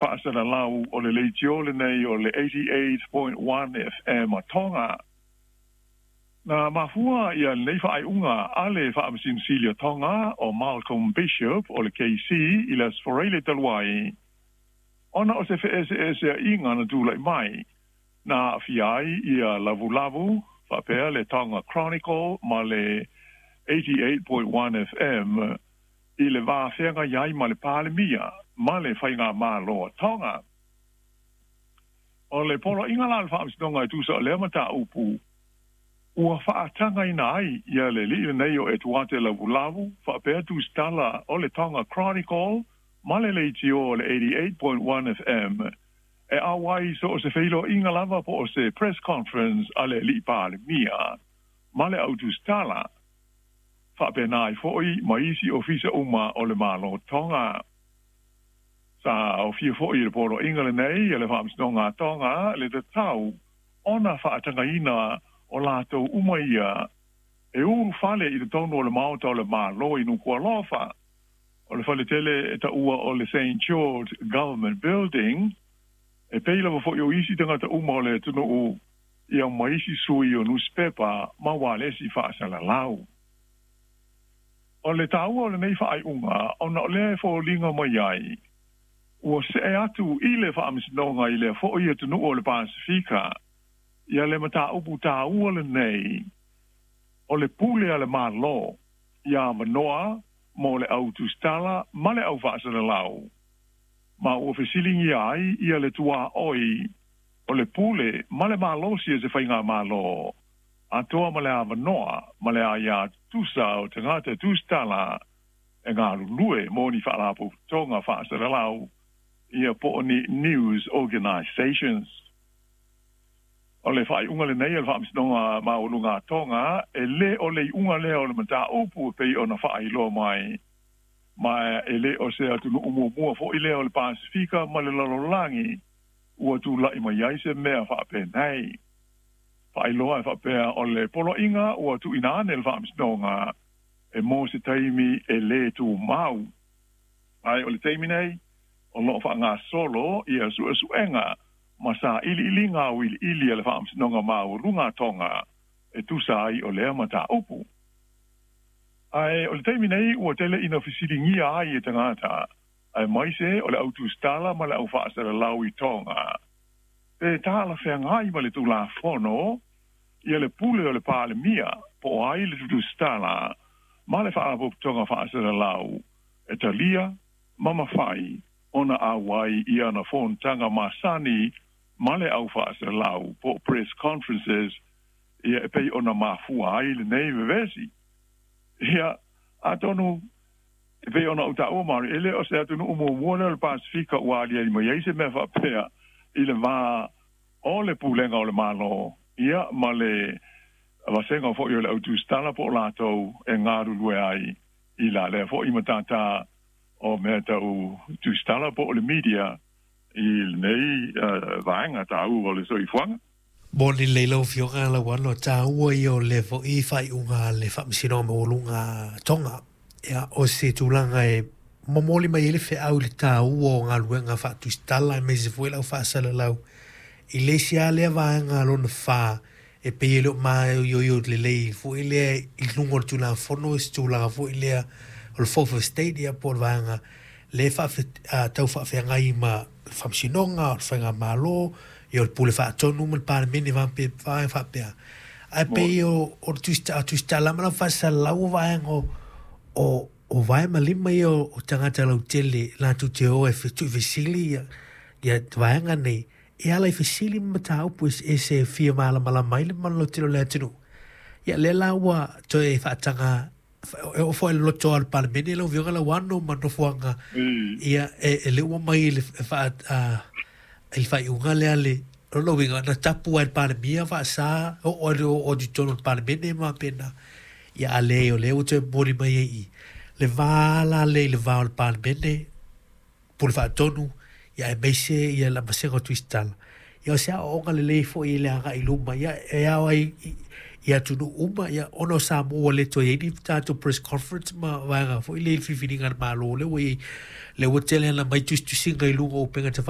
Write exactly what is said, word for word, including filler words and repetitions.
Faasalalau o le leitio lenei o le eighty-eight point one F M a Tonga. Na mafua ia lenei faaiuga a le Faamasino o Tonga o Malcolm Bishop o le K C i le Aso Faraile talu ai, ona o se feeseeseaiga na tulai mai, na aafia ai ia lavulavu faapea le Tonga Chronicle ma le eighty-eight point one F M i le vafeagai ai ma le Palemia ma le Faigamalo a Tonga. O le poloaiga la a le Faamasinoga e tusa o lea mataupu, ua faatagaina ai ia le alii lenei o Etuate Lavulavu faapea tusitala o le Tonga Chronicle ma le leitio o le eighty-eight point one F M e auai so o se feiloaiga lava po o se press conference a le alii Palemia ma le au tusitala faapena ai foi ma isi ofisa uma o le Malo Tonga. Sa aofia foi i le poloaiga lenei a le Faamasinoga a Tonga le tatau ona faatagaina o latou uma ia e ulufale i totonu o le maota o le Malo i Nukualofa. O le faletele e taua o le Saint George Government Building, e pei lava foi o isi tagata uma o le atunuu ia ma isi sui o newspaper ma ualesi faasalalau. O le taua o lenei faaiuga ona o lea e foliga mai ai, ua see atu i le Faamasinoga i lea foi atunuu o le Pasifika, ia le mataupu taua lenei o le pule a le Malo ia avanoa mo le au tusitala ma le au faasalalau, ma ua fesiligia ai ia le tuaoi o le pule ma le malosi e se Faigamalo atoa ma le avanoa ma le aia tusa o tagata tusitala e galulue mo ni faalapotopotoga faasalalau ia po o ni news organizations. O le faaiuga lenei a le Faamasinoga Maualuga a Tonga e lē o le iuga lea o le mataupu e pei ona faailoa mai, ma e lē o se atunuu muamua foi lea o le Pasifika ma le lalolagi ua tulai mai ai se mea faapenei. Faailoa e faapea o le poloaiga ua tuuina ane le Faamasinoga e mo se taimi e lē tumau. Ae o le taimi nei o loo faagasolo ia suesuega ma sailiiliga auiliili a le Faamasinoga Maualuga a Tonga e tusa ai o lea mataupu. Ae o le taimi nei ua tele ina fesiligia ai e tagata, aemaise o le au tusitala ma le au faasalalau i Tonga, pe talafeagai ma le Tulafono ia le pule o le Palemia po o ai le tusitala ma le faalapotopotoga faasalalau e talia ma mafai ona auai i ana fonotaga masani ma le au faasalalau po o press conferences ia e pei ona mafua ai lenei vevesi. Ia atonu e pei ona ou taua Mari, e le o se atunuu muamua lea o le Pasifika ua aliali mai ai se mea faapea i le va o le pulega o le Malo ia ma le vasega foi o le au tusitala po o latou e galulue ai i la lea foi matata o mea tau tusitala po o le media i lenei vaega taua o le soifuaga. Mo le lelei lau Afioga Lauano, taua ia o le foi faaiuga le Faamasinoga Maualuga Tonga. Ia, o se tulaga e momoli mai ai le feau i le taua o galuega faatusitala aemaise foi le au faasalalau i le isi lava lea vaega lona fa e pei e le o maioio lelei foi lea i luga o le Tulafono se tulaga foi lea o le Fourth Estate ia po o le vaega le tau faafeagai ma le Faamasinoga o le Faigamalo ia o le pule faatonu ma le Palemene vaega faapea. Ae pei o le tusitala ma le au faasalalau o vaega o o vae ma lima ia o tagata lautele latou te o e tuufesili ia ia vaega nei e ala i fesili ma mataupu eseese e fia malamalama ai le mamalu lautele o le atunuu. Ia lea la ua toe faataga e oo foi i le loto a le Palemene lau Afioga Lauano ma nofoaga ia e le ua mai i le faaiuga lea le lona uiga na tapu ai le Palemia faasa oo ai oo atu i totonu o le Palemene ma faapena. Ia a leai o lea ua toe momoli mai ai i le va la lea i le va o le Palemene pule faatonu ia aemaise ia le vasega o tusitala. Ia o se aoaoga lelei foi i le agai i luma ia e ao ai I atunuu uma ia ona o Samoa ua le toe i ai ni tatou press conference ma vaega foi le filifiliga a le Malo lea ua i ai lea ua tele ana mai tusitusiga i luga o upega tafailagi.